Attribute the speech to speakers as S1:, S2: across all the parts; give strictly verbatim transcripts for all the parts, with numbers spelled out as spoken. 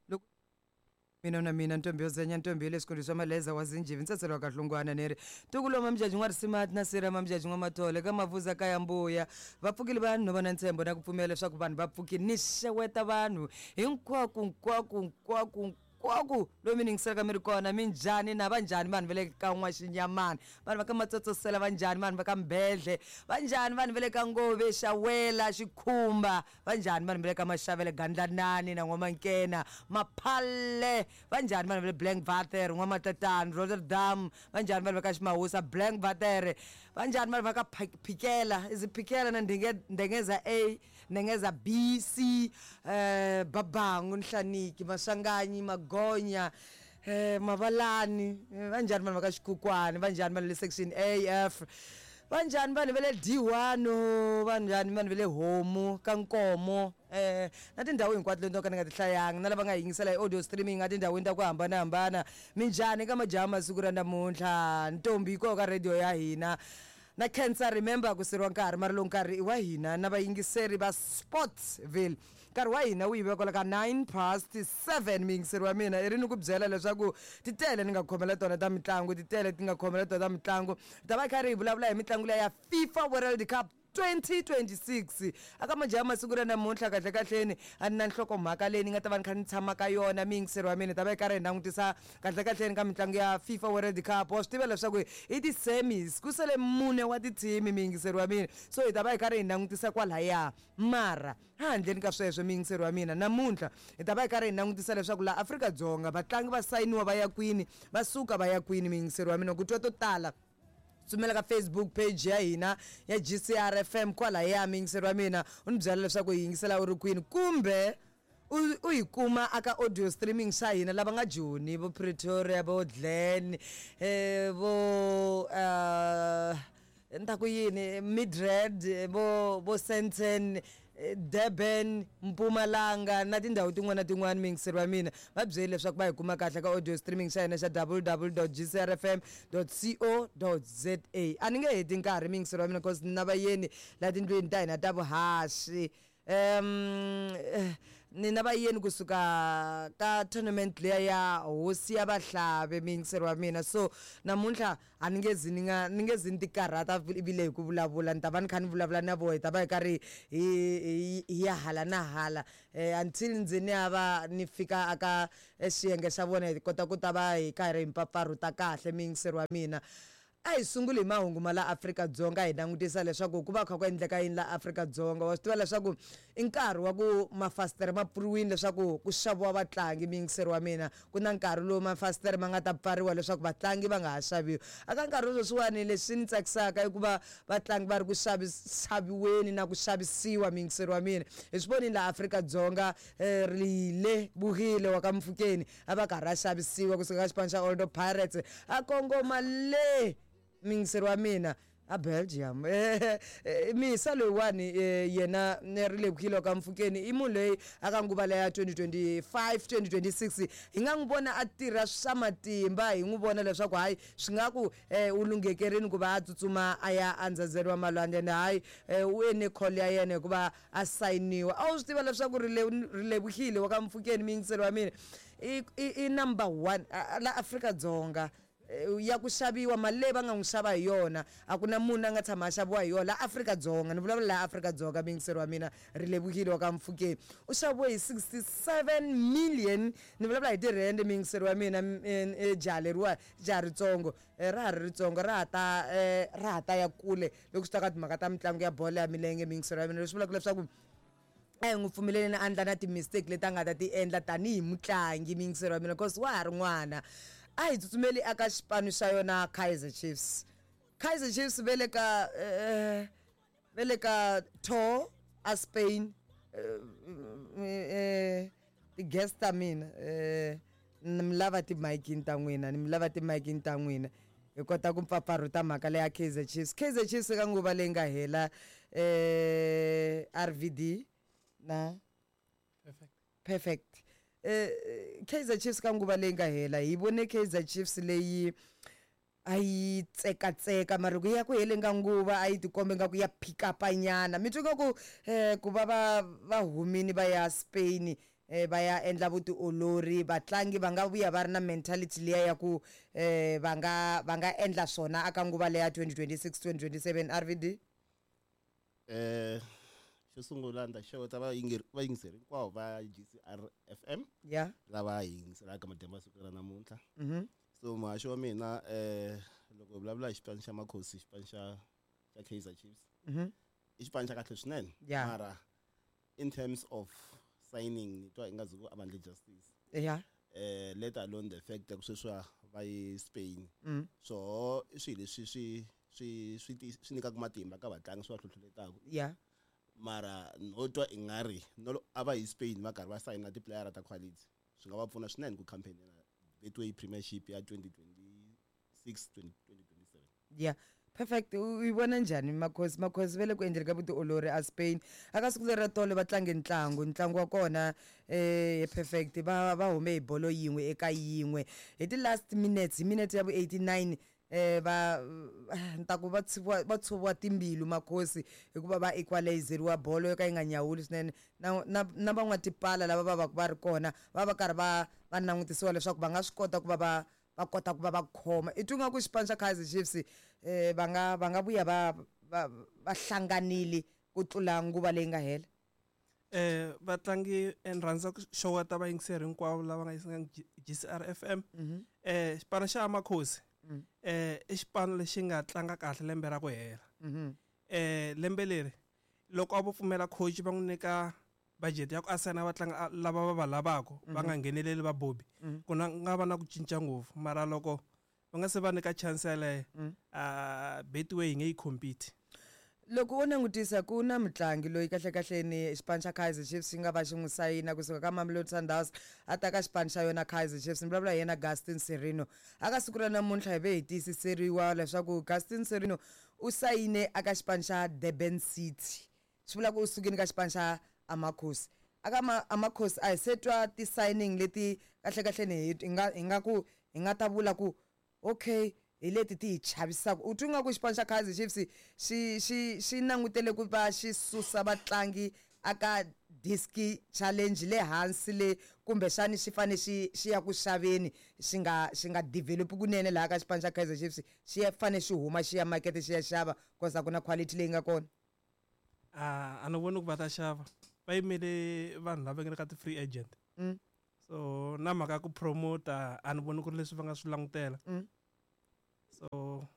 S1: Loko mina na mina ntombi yo zenya, ntombi le xikolweni swa maleza wa zinjivi, ntsetselo wa kahlungwana ni ri ntukulo mamjaji n'wa risimati na sira mamjaji n'wa mathole ka mavuza ka ya mbuya. Va pfukile vanhu no va na ntshembo na ku pfumela leswaku vanhu va pfukile. Ni xeweta vanhu hinkwako nkwako nkwako nkwako lomu mi yingiselaka mi ri kona. Minjhani na va njhani vanhu va le ka N'waxinyamana, vanhu va ka Matsotsosela va njhani, vanhu va ka Mbedle va njhani, vanhu va le ka Ngove, Xawela, Xikhumba va njhani, vanhu va le ka Maxavele, Gandlanani na N'wamankena, Maphalle va njhani, vanhu va le Blankwater, N'wamatatani, Rotterdam va njhani, vanhu va ka Ximahusa, Blankwater va njhani, vanhu va ka Phikela, is Phikela na Ndengeza A, Ndengeza B, C, eh Babangu, Nhlaniki, Maswanganyi, Magonya, eh Mavalani va njhani, vanhu va ka Xikhukhwani va njhani, vanhu le section A F va njhani, vanhu va le D one va njhani, vanhu va le Homu ka Nkomo, eh na tindhawu hinkwato leti no ka ni nga ti hlayanga, na lava nga yingisela hi audio streaming a tindhawini ta ku hambanahambana. Minjhani ka majaha masiku ra namuntlha? Ntombi yi koho ka radio ya hina na khensa. Remember ku siriwa nkarhi mara lowu nkarhi i wa hina na vayingiseri va Sportsville. Nkarhi wa hina wu yive kwala ka nine past seven. Muyingiseri wa mina i ri ni ku byela leswaku titele ni nga khomela tona ta mitlangu, titele ti nga khomela tona ta mitlangu. Hi ta va kha ri hi vulavula hi mitlangu leya ya FIFA World Cup twenty twenty-six aka majaha masiku ra namuntlha. Kahle kahleni a ni na nhlokomhaka leyi ni nga ta va ni kha ni tshama ka yona. Muyingiseri wa mina, hi ta va hi karhi hi langutisa kahle kahleni ka mitlangu ya FIFA World Cup. Wa swi tiva leswaku i ti-semis, ku sele mune wa tithimi, muyingiseri wa mina, so hi ta va hi karhi hi langutisa kwalaya. Mara handleni ka sweswo, muyingiseri wa mina, namuntlha hi ta va hi karhi hi langutisa leswaku laha Afrika-Dzonga vatlangi va sayiniwa va ya kwini, va suka va ya kwini. Muyingiseri wa mina, ku twa to tala, tsumela ka Facebook page ya hina ya G C R F M kwalaya. Muyingiseri wa mina, u ni byela leswaku hi yingisela u ri kwini, kumbe u, u yi kuma aka audio streaming xa hina. Lava nga Joni, vo Pretoria, vo Glen, eh, vo, eh, ni ta ku yini, Midrand, vo, vo Sandton, Durban, Mpumalanga na tindhawu tin'wana na tin'wana. Muyingiseri wa mina, va byeli leswaku va hi kuma kahle ka audio streaming xa hina xa w w dot g c r f m dot c o dot z a. A ni nge heti nkarhi, muyingiseri wa mina, cause na vayeni la tindlwini ta hina ta vuhaxi. Um, ni na vayeni kusuka ka tournament liya ya hosi ya Vahlave, muyingiseri wa mina. So namuntlha a ni nge zi ni nga, ni nge zi ni ti karhata ivile hi ku vulavula, ni ta va ni kha ni vulavula na voho, hi ta va hi karhi hi, hi, hi ya hala na hala, eh, until ndzi ni ya va ni fika aka xiyenge xa vona, hi kota ku ta va hi karhi hi mpfapfarhuta kahle, muyingiseri wa mina. A hi sunguli hi mahungu ma la Afrika-Dzonga, hi langutisa leswaku ku va kha ku endleka yini la Afrika-Dzonga. Wa swi tiva leswaku i nkarhi wa ku mafasitere ma pfuriwile leswaku ku xaviwa vatlangi, muyingiseri wa mina. Ku na nkarhi lowu mafasitere ma nga ta pfariwa leswaku vatlangi va nga ha xaviwi. Aka nkarhi wa sweswiwani, leswi ni tsakisaka i ku va vatlangi va ri ku xavi-, xaviweni na ku xavisiwa, muyingiseri wa mina. Hi swi vonile la Afrika-Dzonga, eh, Rile Bugile wa ka Mfukeni a va karhi a xavisiwa kusuka ka xipano xa Orlando Pirates a kongoma le, muyingiseri wa mina, a Belgium. Eh, eh, Misa loyiwani, eh, yena ni ri le Bugile wa ka Mfukeni i munhu loyi aka nguva leya twenty twenty-five, twenty twenty-six hi nga n'wi vona a tirha swa matimba, hi n'wi vona leswaku hayi swi nga ku, eh, u lunghekerini ku va a tsutsuma a ya endzhazeni wa malwandle, ende hayi, eh, u ene call ya yena hikuva a sayiniwa. A wu swi tiva leswaku Rile-, Rile Bugile wa ka Mfukeni, muyingiseri wa mina, i, i, i number one, a, a, la Afrika-Dzonga ya ku xaviwa. Mali leyi va nga n'wi xava hi yona a ku na munhu a nga tshama a xaviwa hi yona la Afrika-Dzonga. Ni vulavula la Afrika-Dzonga, muyingiseri wa mina, Rile Bugile wa ka Mfukeni u xaviwe hi sixty-seven million. Ni vulavula hi tirhende, muyingiseri wa mina, m-, e, e, jaha leriwa, jaha ritsongo, e, ra ha ri ritsongo, ra ha ta, e, ra ha ta ya kule loko swi ta ka timhaka ta mitlangu ya bolo ya milenge, muyingiseri wa mina. Leswi vulaka leswaku a hi n'wi pfumeleleni a endla na ti-mistake leti a nga ta ti endla tanihi mutlangi, muyingiseri wa mina, cause wa ha ri n'wana. A hi tsutsumeli aka xipano xa yona Kaizer Chiefs. Kaizer Chiefs ve le ka, eh, ve le ka tour a Spain, eh, eh, ti-guest ta mina, eh, ni mi lava ti-mic-ini ta n'wina, ni mi lava ti-mic-ini ta n'wina. Hi kota ku mpfapfarhuta mhaka leya Kaizer Chiefs. Kaizer Chiefs eka nguva leyi nga hela, eh, R V D na
S2: Perfect.
S1: Perfect. Eh, Kaizer Chiefs ka nguva leyi nga hela, hi vone Kaizer Chiefs leyi a yi tsekatseka mara ku ya ku heleni ka nguva a yi tikombe nga ku ya pick up nyana. Mi twa nga ku eh ku va va va humini va ya Spain eh va ya endla vutiolori, vatlangi va nga vuya va ri na mentality liya ya ku eh va nga va nga endla swona aka nguva leya twenty twenty-six twenty twenty-seven R V D?
S2: Eh xo sungula ni ta xeweta vayingiseri hinkwavo va G C R F M
S1: Yeah.
S2: lava hi yingiselaka madyambu ya siku ra namuntlha.
S1: Mhm.
S2: So muhaxi wa mina eh loko hi vulavula hi xipano xa Makhosi, xipano xa xa Kaizer Chiefs.
S1: Mhm.
S2: I xipano xa kahle swinene.
S1: Yeah.
S2: Mara in terms of signing ni twa ingazi ku a va endli justice.
S1: Yeah.
S2: Eh let alone the fact that sweswi va yi Spain.
S1: Mm.
S2: So i swilo leswi swi swi swi swi nyikaka matimba ka vatlangi swi va hlohloletaka.
S1: Yeah.
S2: Mara no twa ingari no a va yi Spain va karhi va sayina ti-player ta quality. Swi nga va pfuna swinene ku campaign na Betway Premiership ya twenty twenty-six twenty twenty-seven.
S1: Yeah. Perfect. U yi vona njhani Makhosi? Makhosi va le ku endleni ka vutiolori a Spain. Aka siku leri ra tolo va tlange ntlangu, ntlangu wa kona eh perfect va va hume hi bolo yin'we eka yin'we. Hi ti last minutes, hi minute ya vu eighty-nine eh va ntaku va tshuviwa, va tshuviwa timbilu Makhosi hikuva va equalizeriwa bolo yo ka yi nga nyawuli swinene. Na, na, na van'watipala lava va va va ri kona va va karhi va va langutisiwa leswaku va nga swi kota ku va va va kota ku va va khoma. I twa nga ku xipano xa Kaizer Chiefs eh va nga va nga vuya va va va hlanganile ku tlula nguva leyi nga hela.
S3: Eh vatlangi ni rhandza ku xeweta vayingiseri hinkwavo lava nga yingisela G C R F M.
S1: Mhm.
S3: Eh xipano xa Makhosi
S1: Mm.
S3: eh i xipano lexi nga tlanga kahle lembe ra ku hela.
S1: Mhm.
S3: Eh lembe leri loko a vo pfumela coach va n'wi nyika budget ya ku a sayina vatlangi lava va va lavaka va nga ngheneleli va Bobby.
S1: Mm.
S3: Ku na nga va na ku cinca ngopfu mara loko va nga se va nyika chance yaleyo,
S1: Mm.
S3: a Betway yi nge yi compete.
S1: Loko u langutisa ku na mutlangi loyi kahle kahle ni xipano xa Kaizer Chiefs xi nga va xi n'wi sayina kusuka ka Mamelodi Sundowns a ta ka xipano xa yona Kaizer Chiefs, ni vulavula hi yena Gaston Sirino. Aka siku ra namuntlha hi ve hi tiyisiseriwa leswaku Gaston Sirino u sayine aka xipano xa Durban City. Swi vula ku u sukile ka xipano xa Amakhosi. Aka ma-, Amakhosi a hi se twa ti-signing leti kahle kahle ni hi nga, hi nga ku, hi nga ta vula ku okay hi leti ti hi chavisaka. U twa nga ku xipano xa Kaizer Chiefs xi, xi, xi langutele ku va xi susa vatlangi aka diski challenge le hansi le kumbexani xi fane xi, xi ya ku xaveni, xi nga, xi nga develop kunene laha ka xipano xa Kaizer Chiefs, xi ya fane xi huma xi ya market xi ya xava cause a ku na quality leyi nga kona.
S3: Ah, a ni voni ku va ta xava. Va yimele vanhu lava nga le ka ti-free agent.
S1: Mm.
S3: So na mhaka ya ku promote a ni voni ku ri leswi va nga swi langutela.
S1: Mm.
S3: So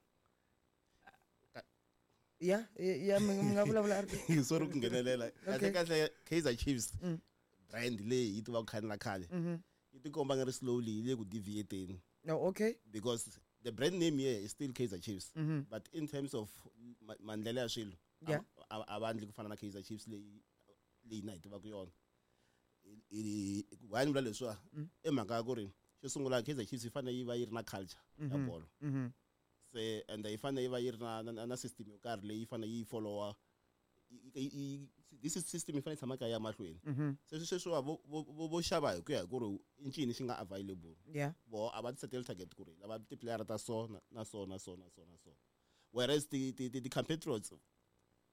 S1: Ya, ya, mi nga vulavula R P.
S2: Sorry ku nghenelela.
S1: Okay.
S2: Kahle kahle Kaizer Chiefs
S1: Mm.
S2: brand leyi yi tivaka khale na khale.
S1: Mm-hmm.
S2: Yi tikomba nga ri slowly yi le ku deviating.
S1: No, okay.
S2: Because the brand name here is still Kaizer Chiefs.
S1: Mm-hmm.
S2: But in terms of ma-, maendlelo ya swilo,
S1: Yeah.
S2: a, a, a va endli ku fana na Kaizer Chiefs leyi, leyi na hi tivaka yona. I, i, why ni vula leswiwa?
S1: Mm.
S2: I mhaka ya ku ri xo sungula Kaizer Chiefs yi fanele yi va yi ri na culture ya
S1: Mm-hmm.
S2: bolo.
S1: Mm-hmm.
S2: Se and yi fanele yi va yi ri na, na, na system yo karhi leyi fanele yi follow-a. I, i, i, this is system yi fanele yi tshama ka ya mahlweni.
S1: Mm-hmm.
S2: Se sweswiwa vo, vo, vo, vo xava hi ku ya hi ku ri i ncini xi nga available.
S1: Yeah.
S2: Vo a va ti setele target ku ri lava ti-player ta so na, na so na so na so na so. Whereas ti, ti, ti, ti compatriots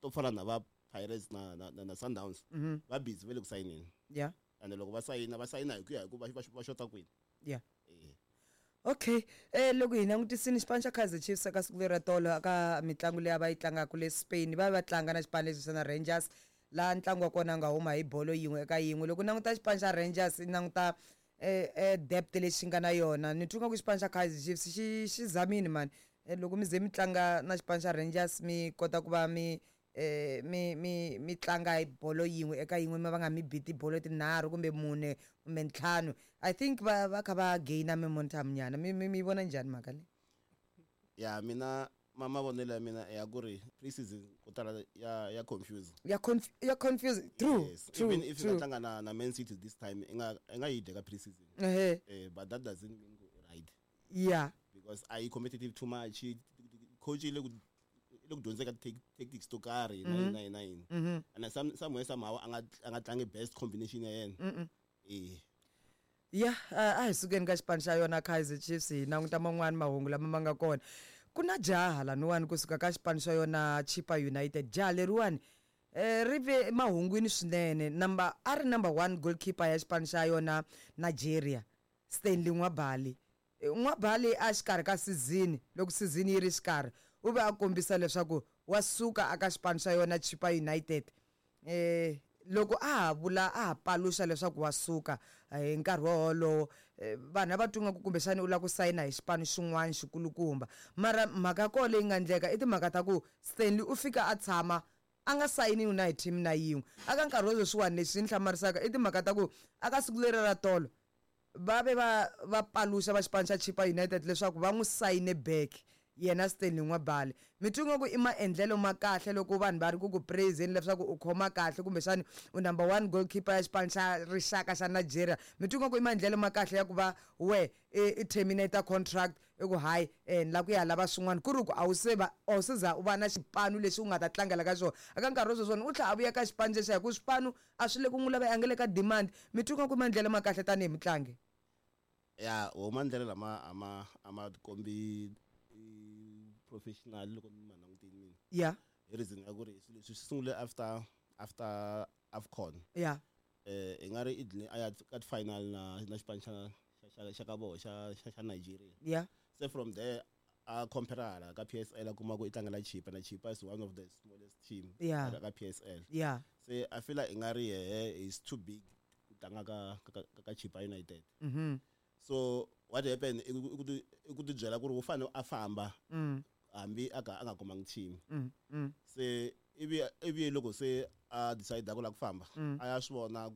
S2: to fana na va Pirates na, na, na, na Sundowns,
S1: Mm-hmm.
S2: va busy va le ku sayineni.
S1: Yeah.
S2: And loko va sayina, va sayina hi ku ya hi ku va, va, va xota kwini.
S1: Yeah.
S2: Eh.
S1: Okay. Eh loko hi langutisini xipano xa Kaizer Chiefs eka siku leri ra tolo aka mitlangu leyi a va yi tlangaka le Spain, va va tlanga na xipano lexi xa na Rangers, laha ntlangu wa kona nga huma hi bolo yin'we eka yin'we. Loko languta xipano xa Rangers, i languta eh, eh, depth lexi xi nga na yona. Ni twa nga ku xipano xa Kaizer Chiefs xi, xi zamile mani. Eh, loko mi ze mi tlanga na xipano xa Rangers mi kota ku va mi, eh, mi, mi, mi tlanga hi bolo yin'we eka yin'we, mi va nga mi bi tibolo tinharhu kumbe mune kumbe ntlhanu. I think va, va kha va gain-a momentum nyana. Mi, mi, mi vona njhani mhaka leyi?
S2: Ya mina ma mavonelo ya mina ya ku ri pre-season ko tala ya, ya confuse.
S1: Ya conf-, ya confuse. True,
S2: Yes.
S1: true,
S2: Even if you
S1: true.
S2: nga tlanga na, na Man City this time, i nga, i nga yi dya ka pre-season.
S1: Ehe.
S2: Eh, but that doesn't mean go right.
S1: Yeah.
S2: Because are you competitive too much? Coach le ku, le ku dyondzeka tactics to karhi,
S1: Mm-hmm.
S2: nine, nine, nine.
S1: Mm-hmm.
S2: And some, somewhere somehow a nga, a nga tlangi best combination ya yena.
S1: Mm-mm.
S2: Eh.
S1: Ya, a a hi sukeni ka xipano xa yona Kaizer Chiefs, hi languta man'wani mahungu lama ma nga kona. Ku na jaha laniwani kusuka ka xipano xa yona Chippa United. Jaha leriwani eh ri ve mahungwini swinene, number a ri number one goalkeeper ya xipano xa yona Nigeria, Stanley Nwabali. Nwabali a xikarhi ka season, loko season yi ri xikarhi, u ve a kombisa leswaku wa suka aka xipano xa yona Chippa United. eh loko a ha vula, a ha paluxa leswaku wa suka hi nkarhi wolowo, vanhu a va twa nga ku kumbexani u lava ku sayina hi xipano xin'wana xikulukumba. Mara mhaka ya kona leyi nga endleka i timhaka ta ku Stanley u fika a tshama a nga sayiniwi na hi team na yin'we aka nkarhi wa sweswiwani. Lexi ni hlamarisaka i timhaka ta ku aka siku leri ra tolo va ve va va paluxa va xipano xa Chippa United leswaku va n'wi sayine back yena Stanley Nwabali. Mi twa nga ku i maendlelo ma kahle loko vanhu va ri ku ku praise-eni leswaku u khoma kahle, kumbexani u number one goalkeeper ya xipano xa rixaka xa Nigeria? Mi twa nga ku i maendlelo ma kahle ya ku va we i terminate contract, i ku hayi, ni lava ku ya lava swin'wana, ku ri ku a wu se va a wu se za u va na xipano lexi u nga ta tlangela ka xona aka nkarhi wa sweswiwani? U tlhela a vuya ka xipano xexiya hi ku swipano a swi le ku n'wi lava, a nga le ka demand. Mi twa nga ku i maendlelo ma kahle tanihi mutlangi?
S2: Ya, wo maendlelo lama a ma a ma kombi professional loko ni ma langutile mina.
S1: Ya.
S2: Hi reason ya ku ri swilo leswi swi sungule after after AFCON.
S1: Ya.
S2: eh i nga ri i dline a ya ka final na na xipano xa xa xa ka vona xa xa xa Nigeria.
S1: Ya.
S2: Se from there a compare hala ka P S L, a kuma ku i tlangela Chippa, na Chippa is one of the smallest team
S1: Yeah.
S2: ka P S L.
S1: Ya.
S2: Se I feel like i nga ri yehe is too big ku tlanga ka ka ka Chippa United.
S1: Mhm
S2: so what happened i ku i ku ti i ku ti byela ku ri u fanele a famba
S1: mm
S2: hambi a ka a nga kumanga team.
S1: mm mm
S2: Se ivi ivi loko se a decide ku lava ku famba,
S1: Mm.
S2: a ya swi vona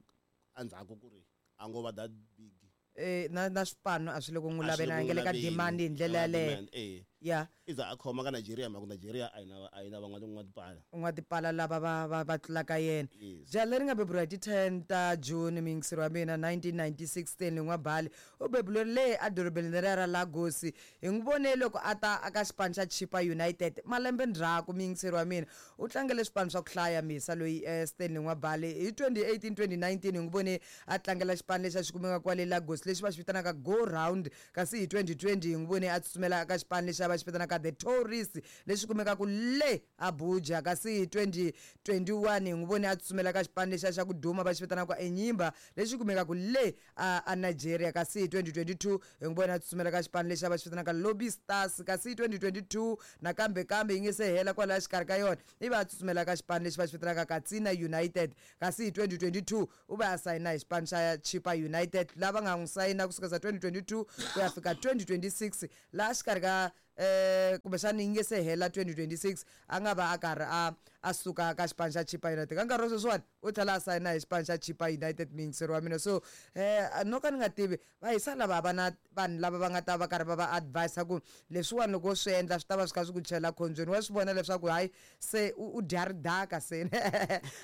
S2: endzhaku ku ri a ngo va that big.
S1: eh na na swipano a swi le ku n'wi
S2: A swi le
S1: laveni, a
S2: ku
S1: nga le ka
S2: laveni.
S1: demand hi ndlela
S2: A nga
S1: yaleyo.
S2: demand, eh.
S1: Ya.
S2: I za a khoma ka Nigeria, mhaka Nigeria a yi na a yi na van'wana n'watipala.
S1: N'watipala lava va va va tlulaka yena.
S2: Yes.
S1: Jaha leri nga beburiwa hi ti ten ta June, miyingiseri wa mina, nineteen ninety-six, Stanley Nwabali, u beburiwe le edorobeni leriya ra Lagos. Hi n'wi vone loko a ta aka xipano xa Chippa United malembe ndzhaku. Miyingiseri wa mina, u tlangele swipano swa ku hlaya misa loyi, eh, Stanley Nwabali. Hi twenty eighteen twenty nineteen hi n'wi vone a tlangela xipano lexi a xi kumeka kwale Lagos lexi va xi vitanaka Go Round, kasi hi twenty twenty hi n'wi vone a tsutsumela eka xipano lexi a va xi vitanaka The Tourist lexi kumekaka le Abuja, kasi hi twenty twenty-one hi n'wi vone a tsutsumela ka xipano lexiya xa ku duma va xi vitanaka Enyimba lexi kumekaka le a, a Nigeria, kasi hi twenty twenty-two hi n'wi vone a tsutsumela ka xipano lexi a va xi vitanaka Lobby Stars, kasi hi twenty twenty-two nakambe kambe yi nge se hela kwalaya xikarhi ka yona ivi a tsutsumela ka xipano lexi va xi vitanaka Katsina United, kasi hi twenty twenty-two u va a sayina hi xipano xa Chippa United lava nga n'wi sayina kusukela twenty twenty-two ku ya fika twenty twenty-six, laha xikarhi ka eh kumbexani yi nge se hela twenty twenty-six a nga va a karhi a a suka ka xipano xa Chippa United. Ka nkarhi wa sweswiwani u tlhela a sayina hi xipano xa Chippa United, miyingiseri wa mina. So eh no ka ni nga tivi va hisa lava va na vanhu lava va nga ta va karhi va va advise ku leswiwani loko swi endla swi ta va swi kha swi ku chela khombyeni. Wa swi vona leswaku hayi, se u u dya ridaka, se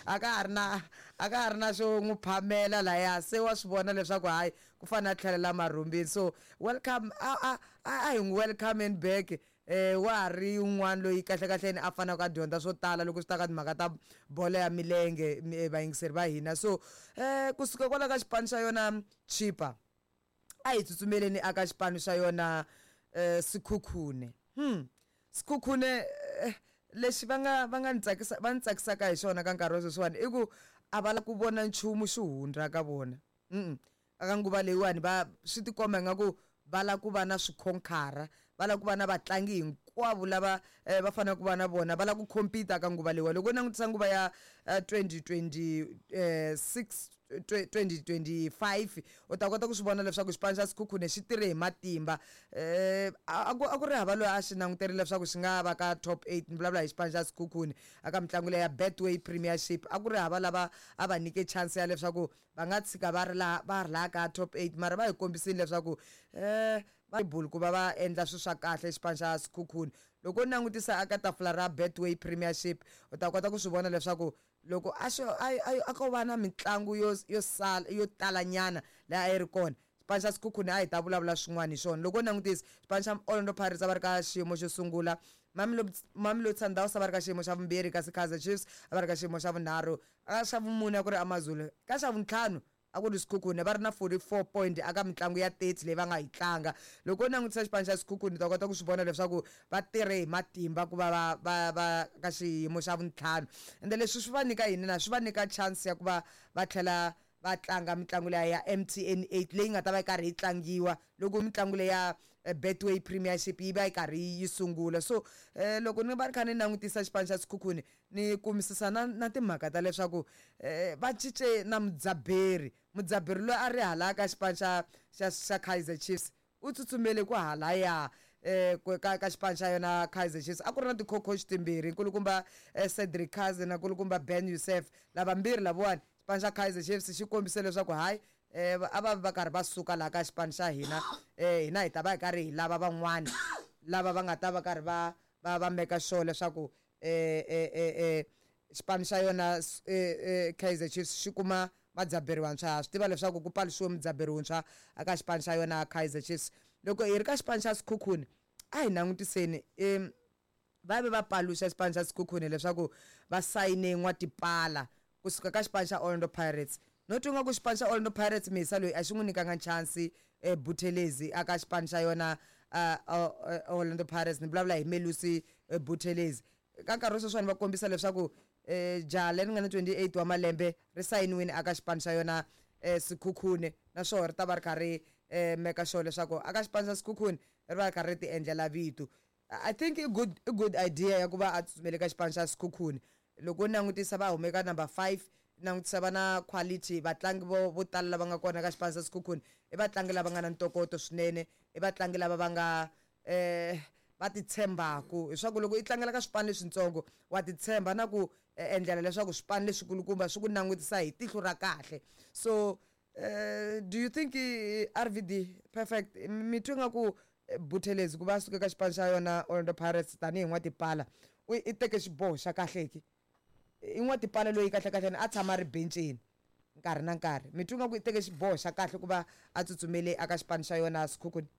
S1: a ka ha ri na a ka ha ri na xo n'wi phamela laya, se wa swi vona leswaku hayi, ku fanele a tlhelela marhumbini. So welcome, a a a a hi n'wi welcome back. eh wa ha ri un'wana loyi kahle kahleni a faneleke a dyondza swo tala loko swi ta ka timhaka ta bolo ya milenge, mi- vayingiseri va hina. So eh kusuka kwala ka xipano xa yona Chippa, a hi tsutsumeleni aka xipano xa yona eh Sekhukhune. hmm Sekhukhune, eh, lexi va nga va nga ni tsakisa va ni tsakisaka hi xona ka nkarhi wa sweswiwani i ku a va la ku vona nchumu xi hundza ka vona. mm aka nguva leyiwani va swi tikomba ingaku va lava ku va na swikhonkara, va lava ku va na vatlangi hinkwavo lava eh, va faneleke ku va na vona, va lava ku compete ka nguva leyiwa. Loko u langutisa nguva ya twenty twenty six twenty twenty-five, u ta kota ku swi vona leswaku xipano xa Sekhukhune xi tirhe hi matimba. eh a ku a ku ri hava loyi a xi languterile leswaku xi nga va ka top eight. Ni vulavula hi xipano xa Sekhukhune aka mitlangu leya Betway Premiership. A ku ri hava lava a va nyike chance ya leswaku va nga tshika va ri laha va ri laha ka top eight, mara va hi kombisile leswaku eh va bulu ku va va endla swilo swa kahle xipano xa Sekhukhune. Loko u langutisa aka tafula ra Betway Premiership, u ta kota ku swi vona leswaku loko a xo a a ko va na mitlangu yo yo sala yo talanyana leyi a yi ri kona, xipano xa Sekhukhune a hi ta vulavula swin'wana hi xona. Loko u langutisa xipano xa Orlando Pirates, a va ri ka xiyimo xo sungula, Mamelodi Mamelodi Sundowns a va ri ka xiyimo xa vumbirhi, kasi Kaizer Chiefs a va ri ka xiyimo xa vunharhu, ka xa vumune a ku ri AmaZulu, ka xa vuntlhanu A ku ri Sekhukhune va ri na forty-four point aka mitlangu ya thirty leyi va nga yi tlanga. Loko u langutisa xipano xa Sekhukhune u ta kota ku swi vona leswaku va tirhe hi matimba ku va va va va ka xiyimo xa vuntlhanu. Ende leswi swi va nyika yini na swi va nyika chance ya ku va va tlhela va tlanga mitlangu leya ya M T N eight leyi nga ta va yi karhi yi tlangiwa loko mitlangu leya ya Betway Premiership yi va yi karhi yi sungula. So eh, loko ni va ni kha ni langutisa xipano xa Sekhukhune ni kumisisa na na timhaka ta leswaku eh, va cince na mudzaberi. Mudzaberi loyi a ri hala ka xipano xa xa xa Kaizer Chiefs u tsutsumele ku halaya eh ka ka xipano xa yona Kaizer Chiefs. A ku ri na ti-co-coach timbirhi, nkulukumba eh, Cedric Kaze na nkulukumba Ben Youssef. Lavambirhi lavawani xipano xa Kaizer Chiefs xi kombise leswaku hayi eh a va va karhi va suka laha ka xipano xa hina, eh hina hi ta va hi karhi hi lava van'wana lava va nga ta va karhi va va va meka sure leswaku eh eh eh eh xipano xa yona eh, eh Kaizer Chiefs xi kuma vadzaberi vantshwa. Ha swi tiva leswaku ku paluxiwe mudzaberi wuntshwa aka xipano xa yona Kaizer Chiefs. Loko hi ri ka xipano xa Sekhukhune a hi langutiseni em va ve va paluxa xipano xa Sekhukhune leswaku va sayine N'watipala kusuka ka xipano xa Orlando Pirates. No twa nga ku xipano xa Orlando Pirates Misa loyi a xi n'wi nyikanga chance eh, Buthelezi aka xipano xa yona uh, Orlando Pirates. Ni vulavula hi Melusi eh, Buthelezi. Ka nkarhi wa sweswiwani va kombisa leswaku eh, jaha leri nga na twenty-eight wa malembe ri sayiniwile aka xipano xa yona eh, Sekhukhune, naswona ri ta va ri kha ri eh, meka sure leswaku aka xipano xa Sekhukhune ri va ri kha ri ti endlela vito. I think i good i good idea ya ku va a tsutsumele ka xipano xa Sekhukhune. Loko u langutisa va hume ka number five, langutisa va na quality vatlangi vo vo tala lava nga kona ka xipano xa Sekhukhune i vatlangi lava nga na ntokoto swinene, i vatlangi lava va nga eh va titshembaku. Leswaku loko i tlangela ka swipano leswitsongo wa titshemba na ku endlela leswaku swipano leswikulukumba swi ku langutisa hi tihlo ra kahle. So uh, do you think R V D perfect mi twi nga ku Buthelezi ku va suka ka xipano xa yona Orlando Pirates tanihi N'watipala u i teke xiboho xa kahle ki? I N'watipala loyi kahle kahle a tshama a ri benceni nkarhi na nkarhi, mi twi nga ku i teke xiboho xa kahle ku va a tsutsumele aka xipano xa yona Sekhukhune?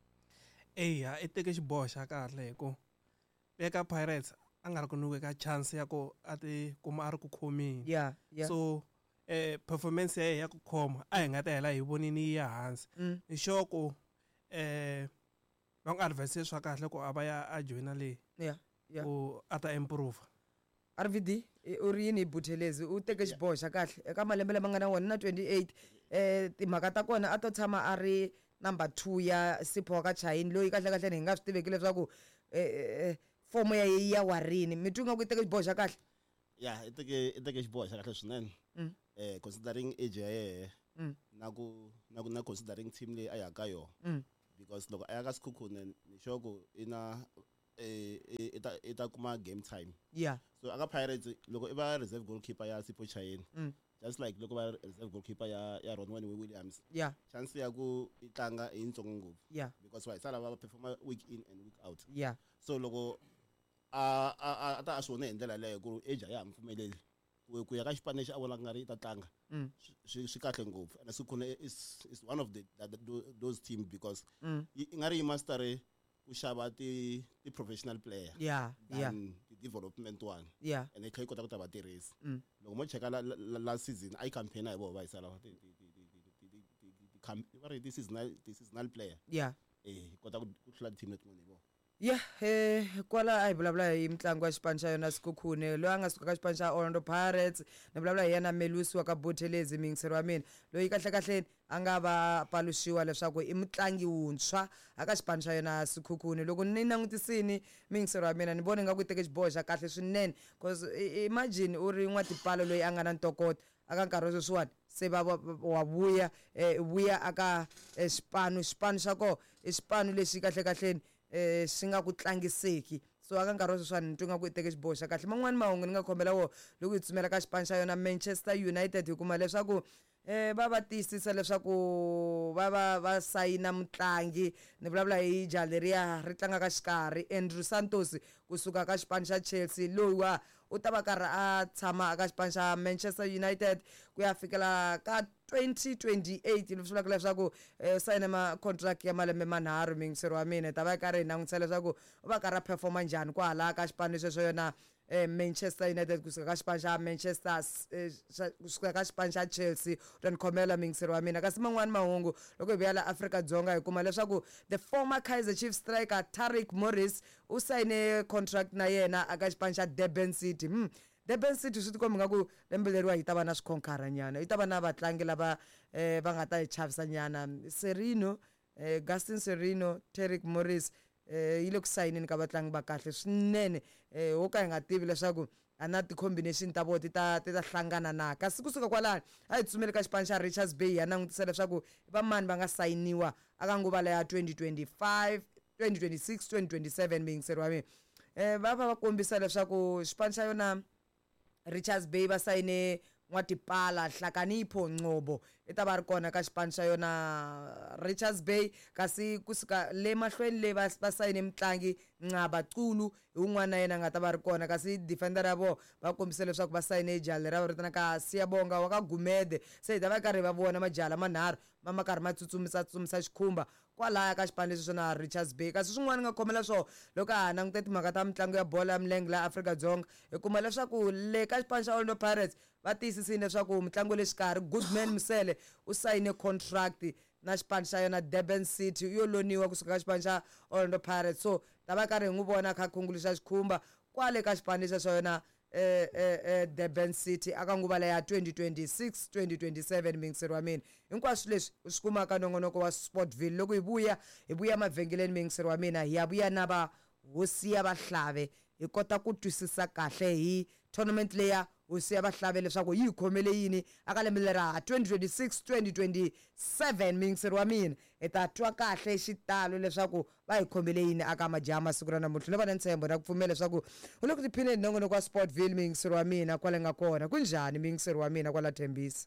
S3: Eya, i teke xiboho xa kahle hi ku eka Pirates a nga ri ku nyikeka chance ya ku a ti kuma a ri ku khomeni.
S1: Yeah, yeah.
S3: So eh performance ya yena ya ku khoma a hi nga ta hela hi vonini yi ya hansi. Ni sure ku eh va n'wi advise swa kahle ku a va ya a joyina leyi
S1: yeah, yeah.
S3: ku a ta improve.
S1: R V D u ri yini hi Buthelezi? U teke xiboho xa kahle eka malembe lama nga na wona na twenty-eight eh timhaka ta kona a to tshama a ri number two ya Sipho ka Chaine loyi kahle kahle hi nga swi tiveki leswaku eh fomo ya ya warini. Mi twi nga ku i teke xiboho xa kahle?
S2: Yeah, i teke i teke xiboho xa kahle swinene. Eh considering age ya yena na ku na ku na considering team leyi a ya ka yona. Because loko a ya ka Sekhukhune ni sure ku i na eh i ta i ta kuma game time.
S1: Yeah.
S2: So aka Pirates loko i va reserve goalkeeper ya Sipho Chaine, just like loko va reserve goalkeeper ya ya Ronwen Williams.
S1: Yeah.
S2: Chance ya ku i tlanga i yitsongo ngopfu.
S1: Yeah.
S2: Because wa sala va performa week in and week out.
S1: Yeah.
S2: So loko a a a ta a swi vone hi ndlela leyo ku age ya ha mpfumeleli ku ku ya ka xipano lexi a vonaka nga ri i ta tlanga swi swi kahle ngopfu. And Sekhukhune is is one of the, the, the those team because i nga ri yi master ku xava ti ti professional player.
S1: Yeah, yeah.
S2: The development one.
S1: Yeah.
S2: And i kota ku ta va tirhisa. Loko mo cheka la last season I campaign hi vona va yisa lava ti ti ti ti ti ti va ri ti seasonal ti seasonal player.
S1: Yeah.
S2: Eh kota ku hlula team letin'wana hi vona.
S1: Yeah, eh kwala a hi vulavula hi mitlangu ya xipano xa yona Sekhukhune loyi a nga suka ka xipano xa Orlando Pirates. Ni vulavula hi yena Melusi wa ka Buthelezi muyingiseri wa mina loyi kahle kahle a nga va paluxiwa leswaku i mutlangi wuntshwa aka xipano xa yona Sekhukhune. Loko ni langutisini muyingiseri wa mina ni vona nga ku i teke xiboho xa kahle swinene, cause imagine u ri N'watipala loyi a nga na ntokoto aka nkarhi wa sweswiwani se va wa vuya eh vuya aka xipano xipano xa kona i xipano lexi kahle kahleni eh xi nga ku tlangiseki. So aka nkarhi wa sweswiwani ni twa nga ku i teke xiboho xa kahle. Man'wani mahungu ni nga khombela wona loko hi tsumela ka xipano xa yona Manchester United hi kuma leswaku eh va va tiyisisa leswaku va va va sayina mutlangi. Ni vulavula hi jaha leriya ri tlangaka xikarhi Andrew Santos kusuka ka xipano xa Chelsea, loyi wa u ta va karhi a tshama aka xipano xa Manchester United ku ya fikela ka twenty twenty-eight. Leswi vulaka leswaku sayina ma contract ya malembe manharhu. Muyingiseri wa mina hi ta va karhi hi langutisa leswaku u va karhi a performa njhani kwahala ka xipano xexo yona eh, Manchester United kusuka ka xipano xa Manchester eh, xa- kusuka ka xipano xa Chelsea. U ta ni khomela muyingiseri wa mina. Kasi man'wani mahungu loko hi vuya la Afrika-Dzonga hi kuma leswaku the former Kaizer Chiefs striker Tariq Morris u sayine contract na yena aka xipano xa Durban City. hmm. Durban City swi tikomba nga ku lembe leriwa yi ta va na swikhonkara nyana, yi ta va na vatlangi lava eh, va nga ta yi chavisa nyana. Serino eh, Gaston Serino, Tariq Morris eh, yi le ku sayineni ka vatlangi va kahle swinene, eh, wo ka hi nga tivi leswaku a na ti-combination ta vona ti ta ti ta hlangana na. Kasi kusuka kwalano a hi tsutsumeli ka xipano xa Richards Bay ya langutisa leswaku va mani va nga sayiniwa aka nguva leya twenty twenty-five, twenty twenty-six, twenty twenty-seven muyingiseri wa mina. Eh, va va va kombisa leswaku xipano xa yona Richards Bay va sayine N'watipala Hlakanipho Ngcobo, i ta va ri kona ka xipano xa yona Richards Bay. Kasi kusuka le mahlweni le va va sayine mutlangi Nqaba Xulu, hi wun'wana na yena a nga ta va ri kona. Kasi defender ya vona va kombise leswaku va sayine jaha leri va vitanaka Siyabonga wa ka Gumede. Se hi ta va karhi va vona majaha lamanharhu ma ma karhi ma tsutsumisa tsutsumisa xikhumba kwalaya ka xipano lexi swona Richards Bay. Kasi swin'wana nga khomela swona loko ha langute timhaka ta mitlangu ya bolo ya milenge laha Afrika-Dzonga, hi kuma leswaku le ka xipano xa Orlando Pirates va tiyisisile leswaku mutlangi wa le xikarhi Goodman Mosele u sayine contract na xipano xa yona Durban City, yo loniwa kusuka ka xipano xa Orlando Pirates. So ta va karhi hi n'wi vona a kha a khunguluxa xikhumba kwale ka xipano lexa xa yona eh, eh, eh, Durban City aka nguva leya twenty twenty-six, twenty twenty-seven muyingiseri wa mina. Hinkwaswo leswi u swi kuma ka nongonoko wa Sportville. Loko hi vuya hi vuya mavhengeleni muyingiseri wa mina, hi ya vuya na va hosi ya Vahlave hi kota ku twisisa kahle hi tournament leya hosi ya Vahlave leswaku yi hi khomele yini aka lembe lera twenty twenty-six, twenty twenty-seven muyingiseri wa mina. Hi ta twa kahle xitalo leswaku va hi khomele yini aka majaha masiku ra namuntlha. No va na ntshembo na ku pfumela leswaku u le ku tiphineni nongonoko wa Sportville muyingiseri wa mina kwale nga kona. Kunjhani muyingiseri wa mina kwala Thembisa?